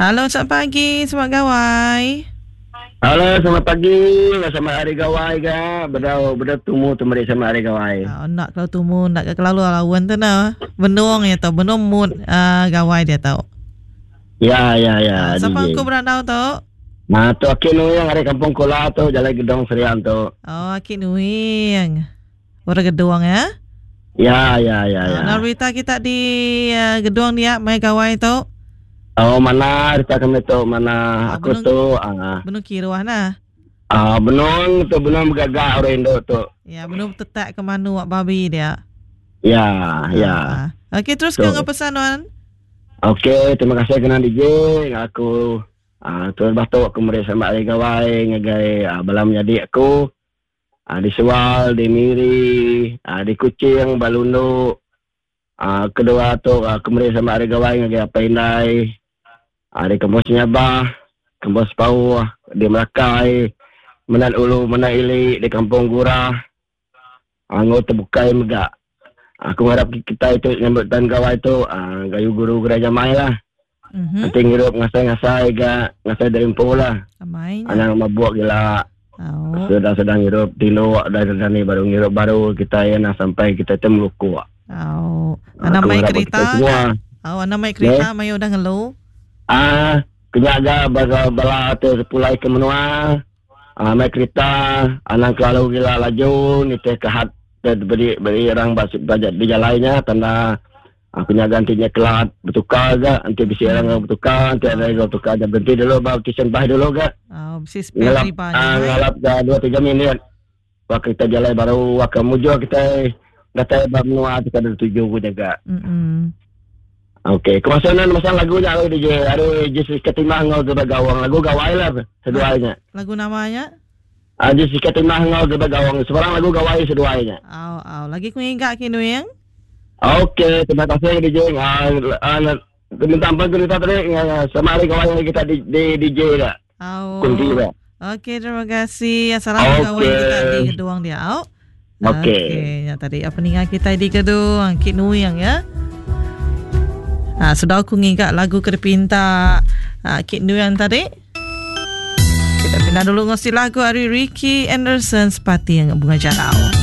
Halo, selamat pagi, selamat gawai. Halo, selamat pagi. Selamat hari gawai ga. Bedau bedau tumu tu meri selamat hari gawai. Oh, nak kalau tumu nak ke kelalu lawan tu nah. Benung ya tau, benung mood uh, gawai dia tau. Ya, ya, ya. Uh, siapa aku berandau tu? Nah, tu Aki Nuing ari Kampung Kula tu, Jalai Gedong Serian tu. Oh, Aki Nuing. Orang Gedong ya. Ya, ya, ya, ya. Nah, berita kita di uh, Gedong dia mai gawai tu. Oh, mana berita kami tu, mana oh, aku benung, tu. Uh, benung kiruah nah. Ah, uh, benung tu benung bergagak orang Indo tu. Ya, benung tetak ke manu babi dia. Ya, ya. Uh, Okey, terus ke pesan nuan. Okey, terima kasih kena DJ. Aku uh, terus batuk aku meri selamat hari gawai ngagai uh, bala menyadi aku. Uh, di Sual, di Miri, uh, di Kuching, Balundu. Uh, kedua tu aku meri selamat hari gawai ngagai apai indai. Uh, di Kampung Senyabah, Kampung Sepauh, di Melakai, Menan Ulu, Menan Ili, di Kampung Gurah. Enggau tebukai mega. Aku ngarap kitai tu nyambut taun gawai tu gayu guru gerai jamai lah. Mm-hmm. Enti ngirup ngasai-ngasai ga ngasai diri empu lah. Anang mabuk gila. Oh. Sedang-sedang ngirup tinduk dah dani baru ngirup baru kitai nah sampai kitai tu melukuk. Oh. Anang mai kerita. Oh, anang mai kerita yeah. mai udah ngelu. Ah, kenya ga bala bala tu pulai ke menua. Ah, mai kerita anang kelalu gila laju nitih ke had beri beri orang ba di jalai nya tanda aku nyaga enti nya kelat betukar ga enti bisi orang enggau betukar enti ada enggau betukar nya berhenti dulu ba stesen bas dulu ga. Oh, bisi spare ngalap, riba nya. Ah, ngalap ga 2 3 minit. Wak kita jalai baru wak mujur kita datai ba menua kita ada tuju ku jaga. Mm. Okey, kemasan masang lagu nya lagu DJ ari Jessica Timah enggau Geba Gawang. Lagu gawai lah seduai nya. Lagu nama nya? Ah Jessica Timah enggau Geba Gawang. Sebarang lagu gawai seduai nya. Au au, lagi ku ngiga ki Nuing. Okey, terima kasih DJ. Ah, ah minta ampun ku minta tadi sama hari gawai lagi kita di, di DJ dah. Au. Kunti dah. Okey, terima kasih. Salam okay. gawai kita di Geduang dia. Au. Okey. Okey, ya tadi apa ninga kita di Gedung Kit Nuing ya. Ha, sudah aku ngiga lagu ke dipinta ha, Kit Nuing tadi. Kita pindah dulu ngosi lagu ari Ricky Anderson Sepating Bunga Jarau.